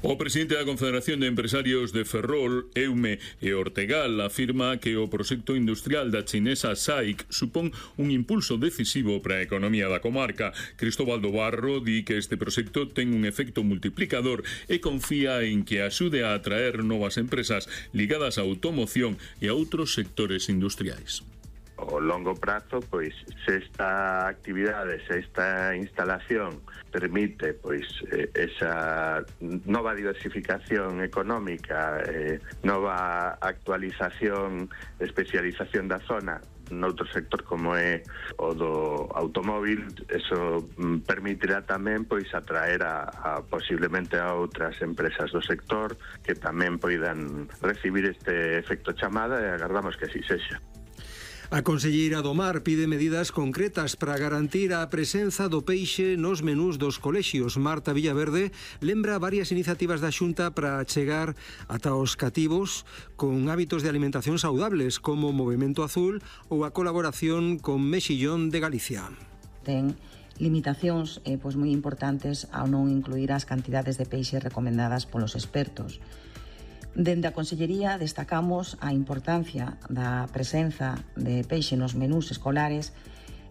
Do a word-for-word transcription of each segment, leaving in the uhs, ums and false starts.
O presidente da Confederación de Empresarios de Ferrol, Eume e Ortegal afirma que o proxecto industrial da chinesa S A I C supón un impulso decisivo para a economía da comarca. Cristóbal do Barro di que este proxecto ten un efecto multiplicador e confía en que axude a atraer novas empresas ligadas á automoción e a outros sectores industriais. O longo prazo, pois, se esta actividade, se esta instalación permite, pois, esa nova diversificación económica, eh, nova actualización, especialización da zona noutro sector como é o do automóvil, eso permitirá tamén, pois, atraer a, a posiblemente a outras empresas do sector que tamén poidan recibir este efecto chamada e agardamos que así sexa. A conselleira do Mar pide medidas concretas para garantir a presenza do peixe nos menús dos colexios. Marta Villaverde lembra varias iniciativas da Xunta para chegar ata os cativos con hábitos de alimentación saudables, como Movemento Azul ou a colaboración con Mexillón de Galicia. Ten limitacións eh, pois moi importantes ao non incluir as cantidades de peixe recomendadas polos expertos. Dende a Consellería destacamos a importancia da presenza de peixe nos menús escolares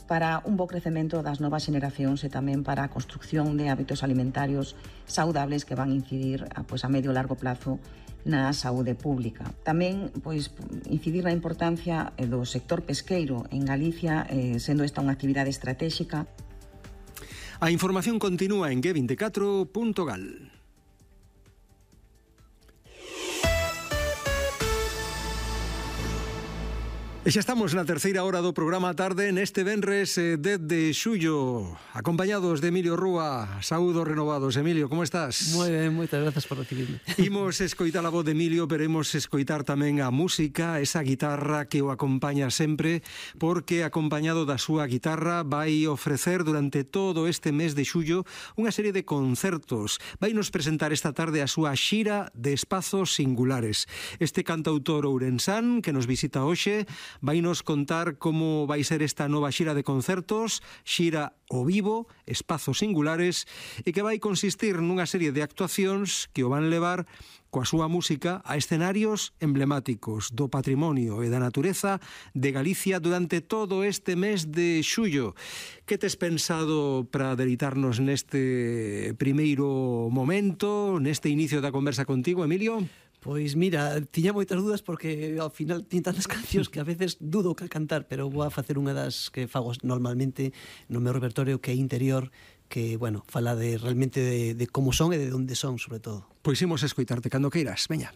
para un bo crecemento das novas xeneracións e tamén para a construcción de hábitos alimentarios saudables que van incidir pois, a medio e largo plazo na saúde pública. Tamén pois, incidir na importancia do sector pesqueiro en Galicia, eh, sendo esta unha actividade estratégica. A información continúa en G veinticuatro punto gal. E xa estamos na terceira hora do programa Tarde neste venres dez de xullo, acompañados de Emilio Rúa. Saúdos renovados. Emilio, como estás? Moi ben, moitas grazas por recibirme. Imos escoitar a voz de Emilio, pero imos escoitar tamén a música, esa guitarra que o acompaña sempre, porque acompañado da súa guitarra vai ofrecer durante todo este mes de xullo unha serie de concertos. Vai nos presentar esta tarde a súa xira de espazos singulares. Este cantautor ourensán que nos visita hoxe vai nos contar como vai ser esta nova xira de concertos, xira o vivo, espazos singulares, e que vai consistir nunha serie de actuacións que o van levar coa súa música a escenarios emblemáticos do patrimonio e da natureza de Galicia durante todo este mes de xullo. Que tes pensado para deleitarnos neste primeiro momento, neste inicio da conversa contigo, Emilio? Pois mira, tiña moitas dúdas porque ao final tiña tantas cancións que a veces dudo que cantar, pero vou a facer unha das que fago normalmente no meu repertorio, que é interior, que, bueno, fala de realmente de, de como son e de onde son, sobre todo. Pois imos escoitarte cando queiras, veña.